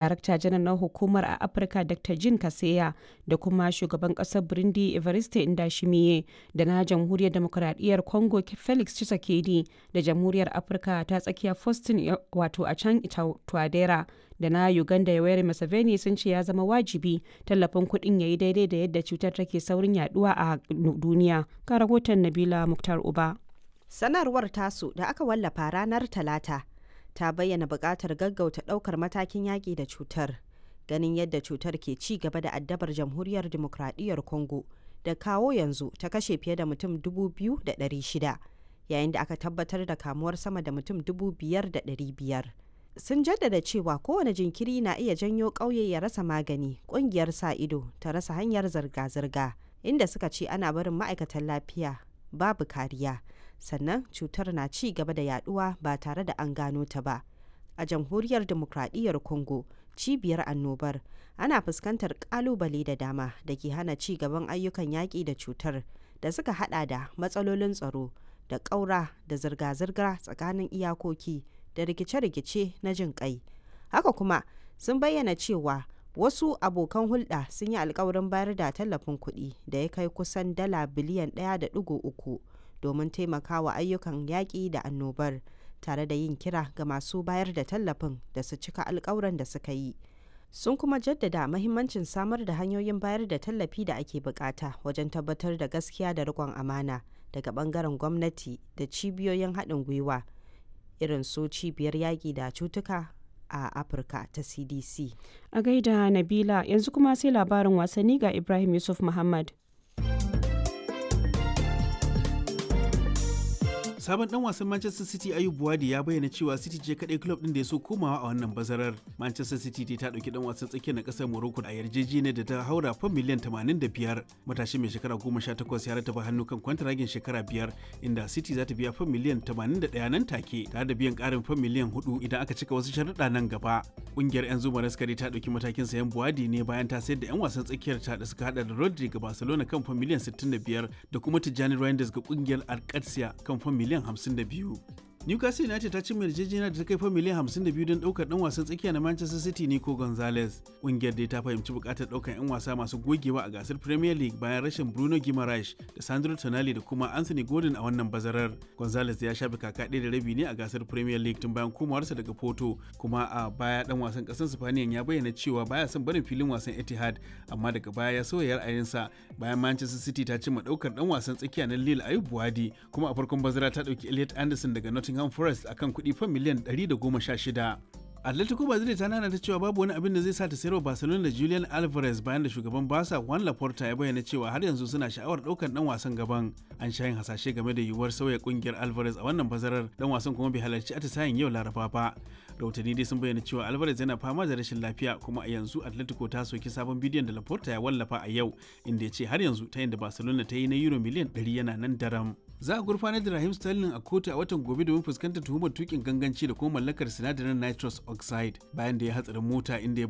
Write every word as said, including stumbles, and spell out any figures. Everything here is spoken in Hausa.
Darakta Janar na Hukumar a Afirka Dr. Jean Kaseya da kuma Shugaban ƙasar Burundi Evariste Ndayishimiye da na Jamhuriyar Dimokuraɗiyyar Congo Felix Tshisekedi da Jamhuriyar Afirka ta Tsakiya Faustin Achang Touadera da na Uganda Yoweri Museveni sun ce ya zama wajibi tallafin kuɗin ya yi daidai da yadda cutar take saurin yaduwa a duniya. Ga rahoton Nabila Muktar Uba. Sanarwar tasu da aka wallafa ranar Talata ta bayyana buƙatar gaggauta ɗaukar matakin yaƙi da cutar, ganin yadda cutar ke ci gaba da addabar Jamhuriyar Dimokuraɗiyyar Congo da kawo yanzu ta kashe fiye da mutum dubu biyu da ɗari shida, yayin da aka tabbatar da kamuwar sama da mutum dubu biyar da ɗari biyar. Sun jaddada cewa kowane jinkiri na iya janyo ƙauye ya rasa magani, ƙungiyar sa ido ta rasa hanyar zirga-zirga, inda suka ce ana barin ma'aikatan lafiya babu kariya, sannan cutar na ci gaba da yaduwa ba tare da an gano ta ba. A Jamhuriyar Dimokuraɗiyyar Congo, cibiyar annobar, ana fuskantar kalubale da dama da ke hana ci gaban ayyukan yaƙi da cutar, da suka hada da matsalolin tsaro da ƙaura da zirga-zirga tsakanin iyakoki da rikice-rikice na jin ƙai. Haka kuma sun bayyana cewa wasu abokan hulɗa sun yi alkawarin bayar da tallafin kuɗi da ya kai kusan dala biliyan ɗaya da ɗigo uku domin taimakawa ayyukan yaƙi da annobar, tare da yin kira ga masu bayar da tallafin da su cika alkawuran da suka yi. Sun kuma jaddada mahimmancin samar da hanyoyin bayar da tallafi da ake bukata wajen tabbatar da gaskiya da riƙon amana daga bangaren gwamnati da cibiyoyin haɗin gwiwa irin su Cibiyar Yaƙi da Cutuka a Afirka ta C D C. A gaida Nabila, yanzu kuma sai labarin wasanni ga Ibrahim Yusuf Muhammad. Sabon dan wasan Manchester City Ayub Buwadi ya bayyana cewa City ce kadai club din da ya so komawa a wannan bazarar. Manchester City ta dauki dan wasan tsakiyar na kasar Morocco a yarjejeniyar da ta haura fam miliyan tamanin da biyar. Matashi mai shekara goma sha takwas ya rataba hannu kan kwantaragin shekara biyar, inda City za ta biya fam miliyan tamanin da ɗaya nan take, tare da biyan karin fam miliyan hudu idan aka cika wasu sharuɗa nan gaba. Kungiyar 'yan zuma raskari ta dauki matakin sayan Buwadi ne bayan ta sayar da 'yan wasan tsakiyar ta da suka hada da Rodri ga Barcelona kan fam miliyan sittin da biyar da kuma Tijjani Reinders ga kungiyar Alcatia kan fam miliyan hamsin da biyu. Newcastle United ta ci yarjejeniya da ta kai fa miliyan hamsin da biyu don daukar dan wasan tsakiya na Manchester City Nico Gonzalez. Kungiyar dai ta fahimci bukatar daukar 'yan wasa masu gogewa a gasar Premier League bayan rashin Bruno Guimaraes da Sandro Tonali da kuma Anthony Gordon a wannan bazarar. Gonzalez ya shafe kaka ɗaya da rabi ne a gasar Premier League tun bayan komawarsa daga Porto, kuma a baya dan wasan ƙasar Spaniyan ya bayyana cewa baya son barin filin wasan Etihad, amma daga baya ya sauya ra'ayinsa bayan Manchester City ta cimma daukar dan wasan tsakiya na Lille Ayub Buwadi, kuma a farkon bazara ta dauki Elliot Anderson daga Nottingham Nottingham Forest akan kuɗi fan miliyan ɗari da goma sha shida. Atletico Madrid ta nana ta cewa babu wani abin da zai sa ta sayarwa Barcelona da Julian Alvarez, bayan da shugaban Barca Juan Laporta ya bayyana cewa har yanzu suna sha'awar ɗaukar dan wasan gaban. An sha yin hasashe game da yiwuwar sauya kungiyar Alvarez a wannan bazarar, dan wasan kuma bai halarci atisayen yau Laraba ba. Rahotanni dai sun bayyana cewa Alvarez yana fama da rashin lafiya, kuma a yanzu Atletico ta soki sabon bidiyon da Laporta ya wallafa a yau, inda ya ce har yanzu ta yin da Barcelona ta yi na euro miliyan ɗari yana nan daram. Za a gurfanar da Raheem Sterling a kotu a watan gobe domin fuskantar tuhumar tukin ganganci da kuma mallakar sinadarin nitrous oxide, bayan da ya hatsarin mota inda ya